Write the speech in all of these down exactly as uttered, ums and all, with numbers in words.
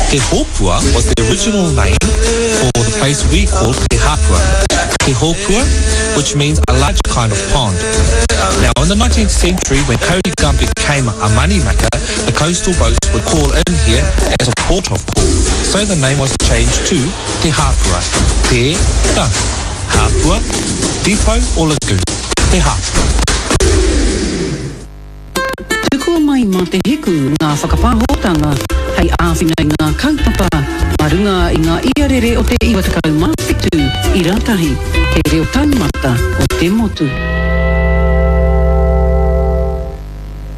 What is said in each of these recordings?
Te Hōpua was the original name for the place we call Te Hāpua. Te Hōpua, which means a large kind of pond. Now, in the nineteenth century, when kauri gum became a money maker, the coastal boats would call in here as a port of call. So the name was changed to Te Hāpua. Te ta Hāpua, depot or lagoon. Te Hāpua. Tukua mai mā te hiku ngā whakapāhotanga hei āwhina i ngā kaupapa mā runga i ngā iarere o te iwa tekau mā whitu ira tahi, te reo taumata o te motu.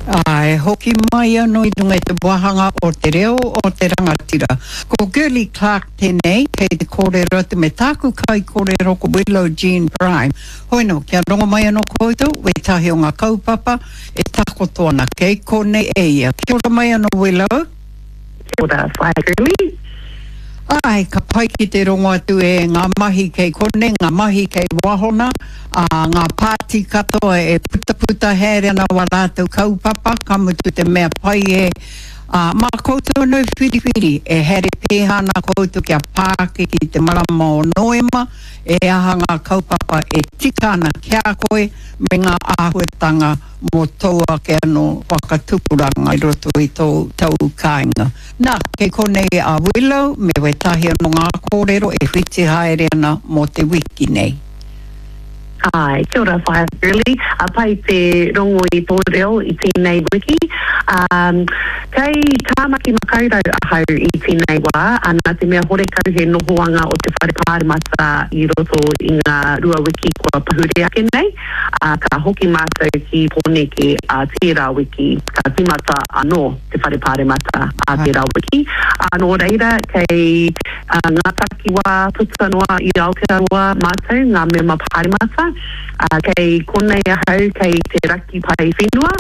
Ā, e hoki mai anō i runga i te wāhanga o te reo o te rangatira. Ko Girlie Clarke tēnei, kei te kōrero atu me tāku kaikōrero ko Willow Jean Prime. Hoi nō, kia rongo mai anō koutou, wētahi o ngā kaupapa e takoto ana kei konei e ia. Kia ora mai anō Willow. Kia ora, Whaea Girlie. Āe, ka pai ki te rongo atu e ngā mahi kei konei, ngā mahi kei wahona, ā, ngā pāti katoa e putaputa haere ana wā rātou kaupapa, ka mutu te mea pai e, ā, mā koutou anō e whiriwhiri, e haere pēhā ana koutou kia pā ake ki te marama o Noema, e aha ngā kaupapa e tika ana ki a koe me ngā āhuatanga mō tōu ake anō whakatupuranga i roto i tōu tau kāinga. Nā, kei konei a Willow me wētahi anō ngā kōrero e whiti haere ana mō te wiki nei. Āe, kia ora Whaea Girlie, a pai te rongo i tō reo i tēnei wiki. Um, kei Tāmaki Makaurau ahau i tēnei wā, a nā te mea horekau he nohoanga o te Whare Pāremata i roto i ngā rua wiki kua pahure ake nei, ā, ka hoki mātou ki Pōneke ā tērā wiki, ka tīmata anō te Whare Pāremata ā tērā wiki. Ā, nō reira, kei ngā takiwā puta noa i Aotearoa mātou, ngā mema pāremata, ā, kei konei ahau kei te raki pae whenua,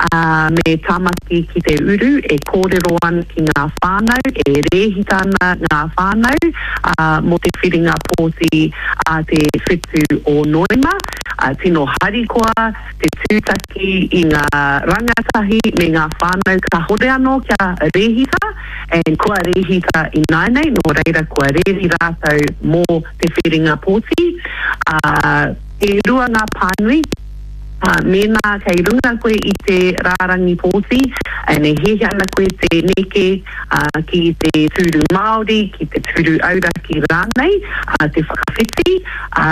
ā, me Tāmaki ki te uru e kōrero ana ki ngā whānau, e rēhita ana ngā whānau, ā, mō te whiringa pōti ā te whitu o Noema. Ā, tino harikoa te tūtaki i ngā rangatahi me ngā whānau kāhore anō kia rēhita, and kua rēhita ināianei, nō reira kua reri rātou mō te whiringa pōti. Ā, e rua ngā pānui, ā, mēnā kei runga koe i te rārangi pōti, and e hiahia ana koe te neke, ā, ki te tūru Māori, ki te tūru auraki rānei, ā, te whakawhiti, ā,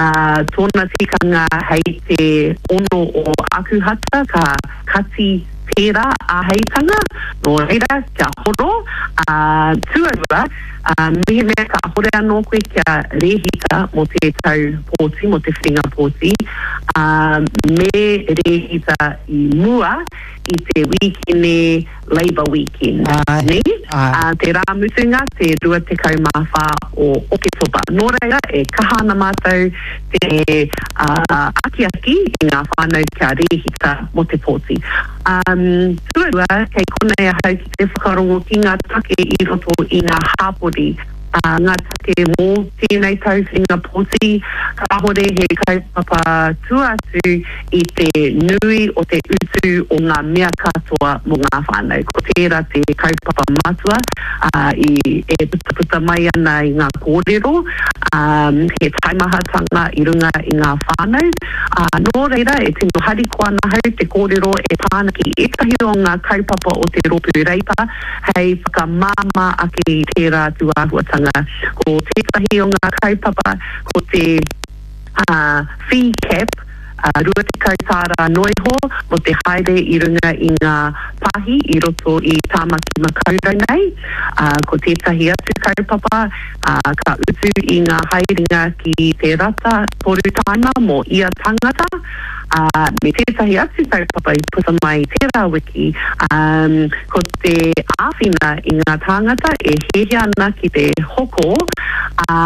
tōna tikanga hei te ono o Akuhata ka kati tērā āheitanga, nō reira, kia horo, ā, tuarua, ā, mehemea kāhore anō koe kia rēhita mō te tau pōti, mō te whiringa pōti, ā, me rēhita i mua i te wīkene Labour Weekend, nē? Ā, te rā mutunga, te rua tekau mā whā o Oketopa. Nō reira, e kaha ana mātou te akiaki i ngā whānau kia rēhita mō te pōti. Tuarua, kei konei ahau ki te whakarongo ki ngā take i roto i ngā hāpori. Ngā take mō tēnei tau whiringa pōti, kāhore he kaupapa tua atu i te nui o te utu o ngā mea katoa mō ngā whānau. Ko tērā te kaupapa matua i e putaputa mai ana i ngā kōrero, he taimahatanga i runga i ngā whānau. Nō reira, e tino harikoa ana ahau te kōrero e pā ana ki ētahi o ngā kaupapa o te Rōpū Reipa, hei whakamāmā ake i tērā tūāhuatanga. Ko tētahi o ngā kaupapa ko te fee cap, rua tekau tāra noa iho mō te haere i runga i ngā pāhi i roto i Tāmaki Makaurau nei. Ko tētahi atu kaupapa, ka utu i ngā haerenga ki te rata toru tāima mō ia tangata, ā, me tētahi atu kaupapa i puta mai i tērā wiki, ā, ko te āwhina i ngā tāngata e hiahia ana ki te hoko, ā,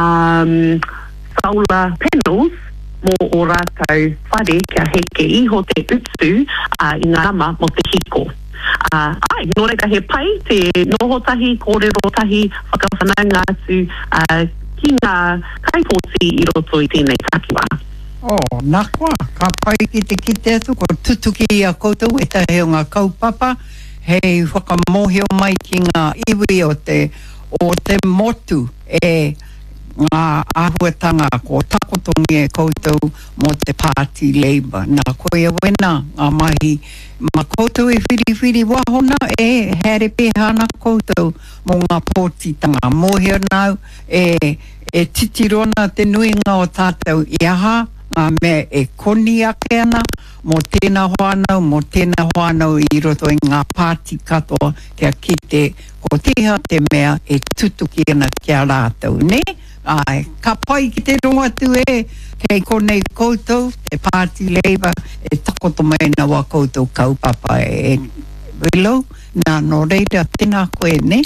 solar panels mō ō rātou whare kia heke iho te utu, ā, i ngā nama mō te hiko. Ā, āe, nō reira he pai te noho tahi, kōrero tahi, whakawhanaunga atu, ā, ki ngā kaipōti i roto i tēnei takiwā. Oh, na koa, ka pai ki te kite atu kua tutuki i a koutou ētahi o ngā kaupapa hei whakamōhio mai ki ngā iwi o te o te motu e ngā āhuatanga ko takotongia e koutou mō te Pāti Labour. Nā, koia wena ngā mahi ma koutou e whiriwhiri wahona e haere pēhea ana koutou mō ngā pōtitanga. Mōhio ana au e, e titiro ana te nuinga o tātou i aha ngā mea e koni ake ana mō tēnā whānau, mō tēnā whānau i roto i ngā pāti katoa kia kite ko tēhea te mea e tutuki ana ki a rātou, nē? Āe, ka pai ki te rongo atu e, kei konei koutou, te Pāti Labour, e takoto mai ana wā koutou kaupapa e Willow, nā, nō reira, tēnā koe, nē?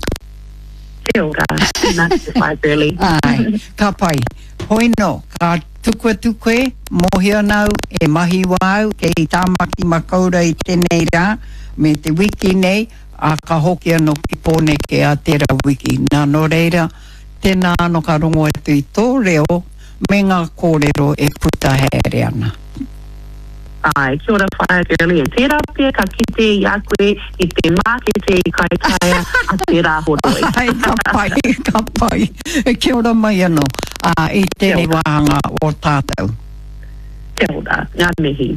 Kia ora, tēnā koe Whaea Girlie. Āe, ka pai. Hoi nō, ka tuku atu koe, mōhio ana au, e mahi wā au kei Tāmaki Makaurau i tēnei rā, me te wiki nei, ā, ka hoki anō ki Pōneke ā tērā wiki. Nā, nō reira, tēnā anō ka rongo atu i tō reo me ngā kōrero e puta haere ana. Āe, kia ora Whaea Girlie, tērā pea ka kite i a koe i te mākete i Kaitaia a te Rāhoroi. Āe, ka pai, ka pai. Kia ora mai anō, ā, i tēnei wāhanga o tātou. Kia ora, ngā mihi.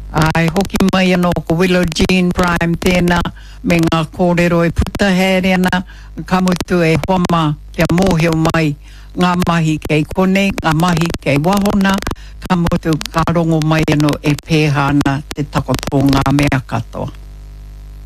Āe, hoki mai anō ko Willow Jean Prime tēnā me ngā kōrero e puta haere ana, ka mutu e hoa mā kia mōhio mai ngā mahi kei konei, ngā mahi kei waho nā, ka mutu ka rongo mai anō e pēhā ana te takoto o ngā mea katoa.